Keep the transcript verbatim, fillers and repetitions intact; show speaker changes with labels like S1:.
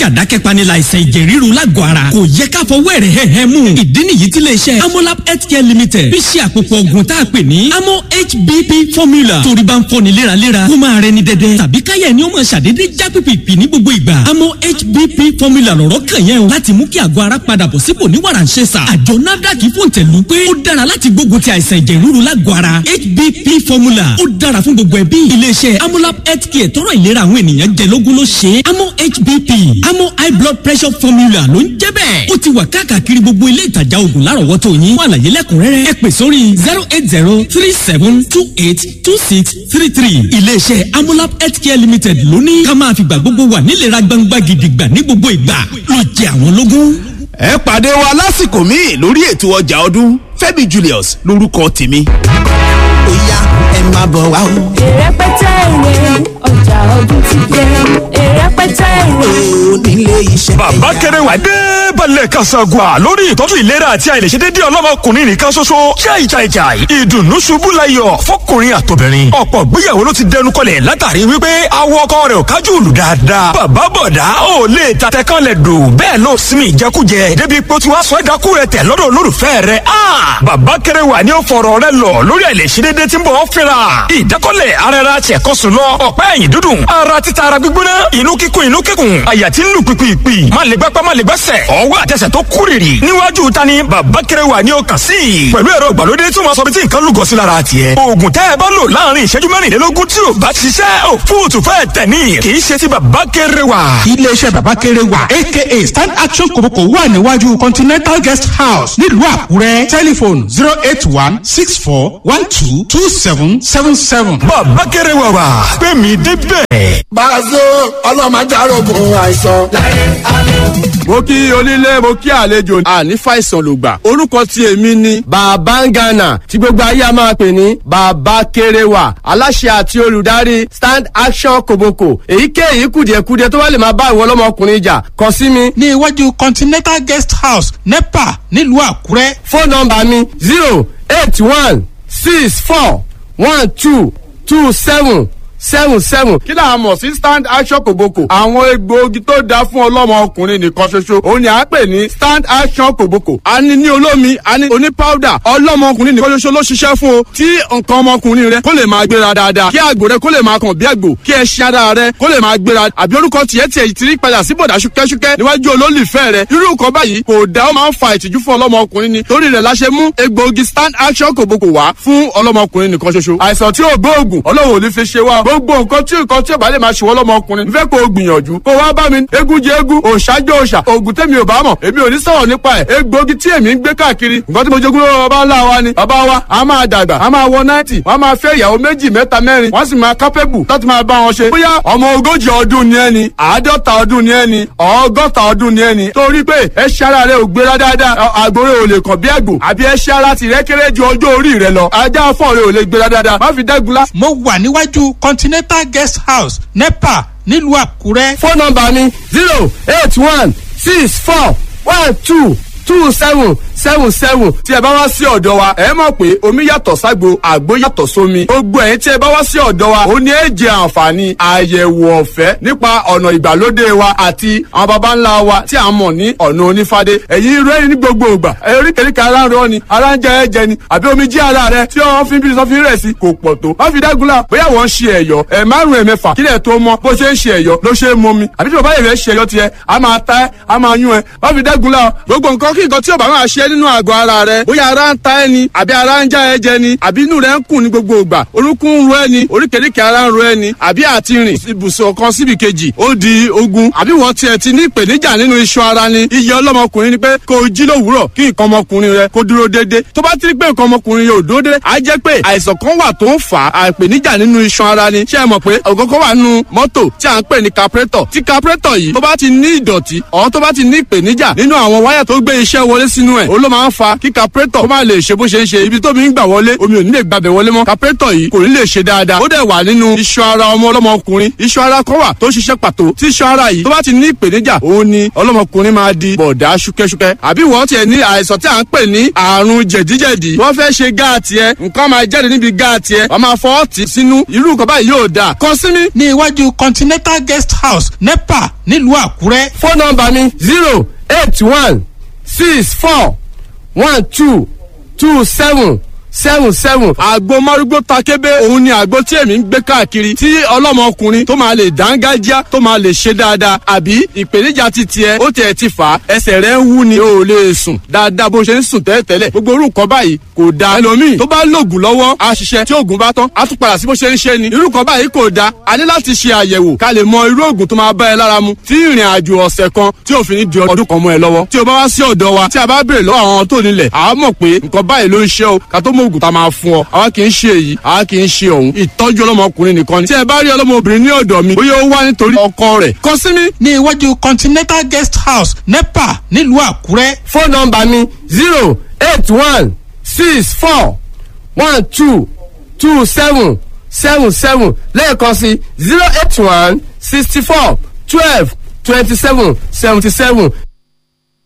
S1: Dákẹ́jà dákẹ́pani láìsàn ẹ̀jẹ̀ ríru lágọ̀ọ́ ara. Kò yẹ ká fọwọ́ ẹ̀rẹ̀ hẹ́hẹ́ mú. Ìdí nìyí tí iléeṣẹ́ Amolab Healthcare Limited fi ṣe àpòpọ̀ ògùn tá a pè ní Amo H B P formula. Torí bá ń fọ́ni léraléra, kó máa rẹni dẹ́dẹ́ tàbí káyà ni ó máa ṣàdédé já pìpìpì ní gbogbo ìgbà. Amo H B P formula lọ̀rọ̀ kàn yẹn o. Láti mú kí àgọ́ ara padà bọ̀ sípò ní wàràǹṣeṣà. Àjọ NAFDAC fòǹtẹ̀lù pé ó dára láti gbógun ti àìsàn ẹ̀jẹ̀ ríru lágọ̀ọ́ ara. H B P formula ó dára fún gbogbo ẹbí. Iléeṣẹ́ Amolab Healthcare tọrọ ìlera àwọn ènìyàn jẹ lógún ló ṣe. Amo H B P Amo High Blood Pressure Formula ló ń jẹ́ bẹ́ẹ̀. Ó ti wà káàkiri gbogbo ilé ìtajà oògùn lárọ̀wọ́tò yín. Fún àlàyé lẹ́kùnrẹ́rẹ́, ẹ pè sórí zero eight zero three seven two eight two six three three. Iléeṣẹ́ Amolab Healthcare Limited ló ní ká máa fìgbà gbogbo wà nílera gbangba gidigba ní gbogbo ìgbà ló jẹ àwọn lógún.
S2: Ẹ pàdé wa lásìkò míì lórí ètò ọjà ọdún. Fẹ́mi Julius lórúkọ tèmi.
S3: Ó yá, ẹ máa bọ̀ wá o.
S4: Èrèpẹtẹ èrè, ọjà ọdún ti dé, èrèpẹtẹ èrè.
S3: Onílé iṣẹ́.
S5: Bàbá Kẹrẹwà dé balẹ̀ kasagua lórí ìtọ́jú ìlera àti àìlèṣedédé ọlọ́mọkùnrin nìkan ṣoṣo. Jai jai jai, ìdùnnú ṣubú layọ̀ fọkùnrin àtobìnrin. Ọ̀pọ̀ gbéyàwó ló ti dẹnu kọlẹ̀ látàrí wípé awọ ọkọ rẹ̀ ò kájú òlù dáadáa. Bàbá bọ̀dá ò lè tatẹ kan lẹ̀ dò bẹ́ẹ̀ ló sinmi ìjẹkújẹ débi pé ó ti wá sọ ẹ̀dákú rẹ̀ tẹ̀ lọ́dọ̀ olólùfẹ́ rẹ̀. Bàbá Kẹrẹwà ni ó fọ̀rọ̀ rẹ̀ lọ lórí àìlèṣedédé tí ń bọ̀ fínra. Ìdákọ́lẹ̀ ara ẹra ṣẹ̀kọ́sùn lọ, ọ̀pá ẹ̀yìn dúdùn, ara títa, ara gbígbóná, inú kíkún, inú kíkún, àyà tí ń lù pìpìpì, má lè gbápá, má lè gbẹ́sẹ̀, ọwọ́ àtẹsẹ̀ tó kúrìrì. Níwájú tani Bàbá Kẹrẹwà ni ó kàn sí pẹ̀lú ẹ̀rọ ìgbàlódé tí wọ́n sọ bí tí nǹkan lúgọ sí lára tiẹ̀. Oògùn tẹ́ ẹ bá lò láàrin ìṣẹ́jú mẹ́rìnlélógún tí ò bá ṣiṣẹ́, òfúùtù fẹ́ tẹ̀ ní, kì í ṣe ti Bàbá Kẹrẹwà.
S6: Iléeṣẹ́ Bàbá Kẹrẹwà aka Stand Action Kòbókò wà níwájú Continental Guest House nílùú Àkúrẹ́. Tẹlifóònù zero eight one six four one two two seven seven seven.
S5: Bàbá Kẹrẹwà wà pé mi débẹ̀.
S7: Bàzó ọlọ́mọdé arógun àìsàn.
S8: Mo kí onílé, mo kí àlejò, àní fàìsàn ló gbà. Orúkọ tí èmi ni Bàbá Ngana, tí gbogbo ayé a máa pè ní Bàbá Kéréwà, aláṣẹ àti olùdarí Stand Action Koboko. Èyíkéyìí kùdìẹ̀kudiẹ tó bá lè máa bá ìwọ ọlọ́mọkùnrin jà, kàn sí mi.
S6: Ní iwájú Continental Guest House, NEPA, nílùú Àkúrẹ́.
S8: Fóònù nọ́mbà mi zero eight one six four one two two seven seven seven. Kí là á mọ̀ sí Stand Action Kòbókò? Àwọn egbòogi tó dáa fún ọlọ́mọ ọkùnrin nìkan ṣoṣo òun ni à ń pè ní Stand Action Kòbókò. A ní ní olómi, a ní oní powder. Ọlọ́mọ ọkùnrin nìkan ṣoṣo ló ṣiṣẹ́ fún o. Tí nǹkan ọmọkùnrin rẹ kó lè máa gbéra dáadáa, kí àgbò rẹ kó lè máa kàn bí àgbò, kí ẹṣin ara rẹ kó lè máa gbéra, àbí orúkọ tiẹ̀ tiẹ̀ ti rí padà sí bọ̀dà ṣúkẹ́ṣúkẹ́ níwájú olólùfẹ́ rẹ, irú nǹkan báyìí kò dá, ó máa ń fa ìtìjú fún ọlọ́mọkùnrin ni. Torí rẹ̀ la ṣe mú egbòogi Stand Action Kòbókò wá fún ọlọ́mọkùnrin nìkan ṣoṣo. Àìsàn tí ò gbóògùn, Ọlọ́run ò ní fi ṣe wá. Gbogbo nǹkan tí nǹkan tí ò bá lè máa ṣe wọ́n lọ́mọkùnrin, nfẹ́ kó o gbìyànjú kó wá bá mi. Eégún jẹ eégún, òòṣà jẹ òòṣà. Oògùn tèmi ò bá mọ̀, èmi ò ní sọ̀rọ̀ nípa ẹ̀. Egbòogi tí èmi ń gbé káàkiri, nǹkan tí mo jogún lọ́wọ́ bàbá ńlá wa ni. Bàbá wa a máa dàgbà, a máa wọ náìtì, wọ́n máa fẹ́ ìyàwó méjì, mẹ́ta, mẹ́rin, wọ́n sì máa kápẹ́bù láti máa bá wọn ṣe. Bóyá ọmọ ogójì ọdún ni ẹni, àádọ́ta ọdún ni ẹni, ọgọ́ta ọdún ni ẹni, torí pé ẹṣin ara rẹ ò gbéra dáadáa, àgbòrè ò lè kàn bí àgbò, àbí ẹṣin ara tìrẹ kéré ju ọjọ́ orí rẹ lọ, ajá fọ́ọ̀rẹ́ ò lè gbéra dáadáa, má fi dẹ́gunlá.
S6: Mo wà níwájú Continental Guest House, NEPA, nílùú Àkúrẹ́.
S8: Fóònù nọ́mbà mi zero eight one six four one two two seven seven seven. Tí ẹ bá wá sí ọ̀dọ̀ wa, ẹ mọ̀ pé omi yàtọ̀ ságbo, àgbo yàtọ̀ sómi. Gbogbo ẹ̀yin tí ẹ bá wá sí ọ̀dọ̀ wa, ó ní ẹ jẹ àǹfààní àyẹ̀wò ọ̀fẹ́ nípa ọ̀nà ìgbàlódé wa àti àwọn baba ńlá wa tí a mọ̀ ní ọ̀nà onífádé. Ẹ̀yin rẹ́rìn ní gbogbo ìgbà, oríkèéríkèé ara ń rọ ni, ara ń jẹ ẹ̀jẹ̀ ni, àbí omi jí ara rẹ tí wọ́n fi ń bí sọ́fin rẹ̀ sí kò pọ̀ tó. Má fi dágunlá, bóyá wọ́n ń ṣe ẹ̀yọ́ ẹ̀ márùn-ún, ẹ̀mẹ́fà, kílẹ̀ tó mọ bó ṣe ń ṣe ẹ̀yọ́ ló ṣe é mọ mi, àbí tí bàbá yẹn fẹ́ ṣe ẹ̀yọ́ tiẹ̀, a máa ta ẹ́, a máa yún ẹ. Má fi dágunlá gbogbo nǹkan kí nǹkan tí ò bá máa ṣe nínú àgọ́ ara rẹ, bóyá ara ń ta ẹ́ ni, àbí ara ń já ẹ jẹ ni, àbí inú rẹ ń kùn ní gbogbo ìgbà, orúnkún ń ro ẹ ni, oríkèéríkèé ara ń ro ẹ ni, àbí àti rìn ibùsùn kan síbi kejì ó di ogun, àbí wọ́n tiẹ̀ ti ní ìpèníjà nínú iṣan ara ni. Iye ọlọ́mọkùnrin ni pé kó o jí lówùúrọ̀ kí nǹkan ọmọkùnrin rẹ kó dúró déédé. Tó bá ti rí pé nǹkan ọmọkùnrin yóò dúró déédé, á jẹ́ pé àìsàn kan wà tó ń fà á ìpèníjà nínú iṣan ara ni. Ṣé ẹ mọ̀ pé ògógó wà nínú mọ́tò tí à ń pè ní carburetor? Tí carburetor yìí tó bá ti ní ìdọ̀tí ọ̀, tó bá ti ní ìpèníjà nínú àwọn wáyà tó gbé iṣẹ́ wọlé sínú ẹ̀, olóògùn ló máa ń fa kí carburetor kó má lè ṣe bó ṣe ń ṣe. Ibi tómi ń gbà wọlé, omi ò ní lè gbàbẹ̀ wọlé mọ́. Carburetor yìí kò ní lè ṣe dáadáa. Ó dẹ̀ wà nínú iṣan ara ọmọ ọlọ́mọkùnrin. Iṣan ara kan wà tó ṣiṣẹ́ pàtó. Tí iṣan ara yìí tó bá ti ní ìpèníjà, òun ni ọlọ́mọkùnrin máa di bọ̀dá ṣúkẹ́ṣúkẹ́. Àbí wọ́n tiẹ̀ ní àìsàn tí à ń pè ní àrùn jẹ̀díjẹ̀dí. Wọ́n fẹ́ ṣe gáàtì ẹ, nǹkan máa jáde níbi gáàtì ẹ, wọ́n máa fọwọ́ tì sínú. Irú nǹkan báyìí yóò dáa. Kàn sí mi.
S6: Ní iwájú Continental Guest House, NEPA, nílùú Àkúrẹ́.
S8: Fóònù nọ́mbà mi zero eight one six four one two two seven seven seven. Àgbo márúgbó takébé, òun ni àgbo tí èmi ń gbé káàkiri, tí ọlọ́mọkùnrin tó máa lè dángájá, tó máa lè ṣe dáadáa. Àbí ìpèníjà ti tiẹ̀, ó tiẹ̀ ti fà á, ẹsẹ̀ rẹ̀ ń wú ni, o ò lè sùn dáadáa bó ṣe ń sùn tẹ́lẹ̀tẹ́lẹ̀. Gbogbo orú nǹkan báyìí kò dáa. Ẹlòmíì tó bá lògùn lọ́wọ́ á ṣiṣẹ́, tí oògùn bá tán á tún padà sí bó ṣe ń ṣe ni. Irú nǹkan báyìí kò dáa. A ní láti ṣe àyẹ̀wò ká lè mọ irú oògùn tó máa bá ẹ lára mu, tí ìrìn àjò ọ̀sẹ̀ kan tí òfin ní di ọdún kan mọ́ ẹ lọ́wọ́. Tí o bá wá sí ọ̀dọ̀ wa, tí a bá béèrè lọ́wọ́ àwọn tó nílẹ̀, àá mọ̀ pé nǹkan báyìí ló ń ṣe o, ká tó mọ oògùn tá a máa fún ọ. Àwa kì í ṣe èyí, àwa kì í ṣe òun. Ìtọ́jú ọlọ́mọkùnrin nìkan ni. Tí ẹ bá rí ọlọ́mọbìnrin ní ọ̀dọ̀ mi, bóyá ó wá nítorí ọkọ rẹ̀, kàn sí mi.
S6: Ní iwájú Continental Guest House, NEPA, nílùú Àkúrẹ́.
S8: Fóònù nọ́mbà mi zero eight one six four one two two seven seven seven. Lẹ́ẹ̀kan sí, zero eight one sixty four twelve twenty seven seventy seven.